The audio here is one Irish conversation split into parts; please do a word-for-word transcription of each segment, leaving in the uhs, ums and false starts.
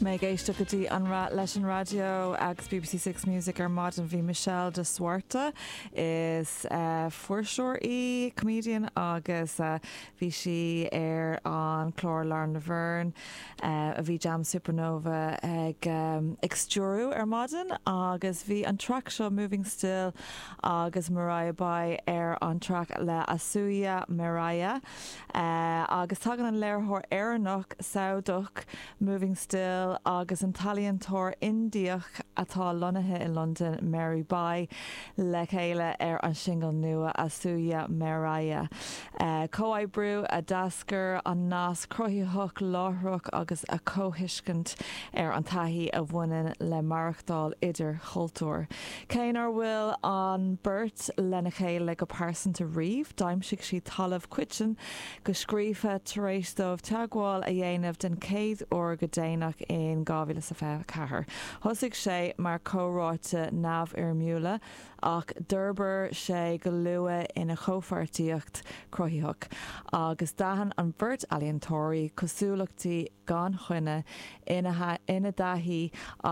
Mé ag éisteacht go dtí an leis an raidió agus BBC Six Music ar maidin bhí Michelle de Swarte is uh, fuirseoir í comedian agus uh, bhí sí ar an chlár Lauren Laverne uh, a bhí Jam Supernova ag um, ag stiúradh ar maidin agus bhí an track seo Moving Still agus Mariah Bai ar an track le Asuya Mariah uh, agus tagann an léiritheoir Éireannach Sádach Moving Still agus an t-ealaíontóir Indiach atá lonnaithe in London Mary Bai le chéile ar an single nua Asuya Mariah. Uh, Comhoibriú a d'eascair as nasc cruthaitheach láithreach agus a comhthuiscint ar an taithí a bhaineann le maireachtáil idir chultúir. Cé nach bhfuil an bheirt lena chéile go pearsanta riamh, d'aimsigh siad talamh coiteann go scríofa tar éis dóibh teagmháil a dhéanamh den chéad uair go déanach in dhá mhíle is fiche ceathair. Thosaigh sé mar chomhráite neamhfhoirmiúla ach d'fhorbair sé go luath ina chomhpháirtíocht chruthaitheach, agus d'aithin an bheirt ealaíontóirí cosúlachtaí gan choinne ina ina dtaithí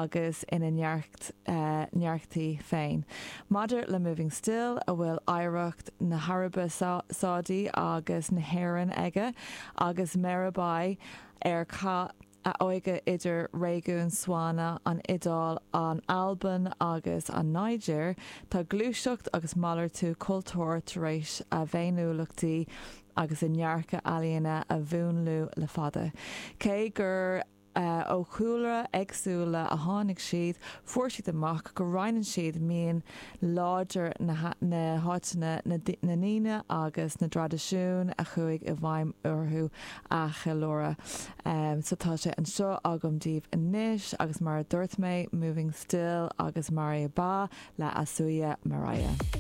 agus ina ndearcthaí féin. Maidir le Moving Still a bhfuil oidhreacht na hAraibe Sádaí agus na hÉireann aige agus Mary Bai ar chaith a óige idir réigiún Swana an Iodáil an Albain agus an Nigéir, tá gluaiseacht agus malartú cultúir tar éis a bhféiniúlachtaí agus a ndearcadh ealaíne a mhúnlú le fada. Cé gur uh, ó chúlra éagsúla a tháinig siad, fuair siad amach go roinneann siad mian láidir na, na háiteanna na, na ndaoine agus na traidisiúin a chuaigh i bhfeidhm orthu a cheiliúradh. Um, so tá sé anseo agam daoibh anois agus mar a dúirt mé Moving Still agus Maria Ba le Asuya Mariah.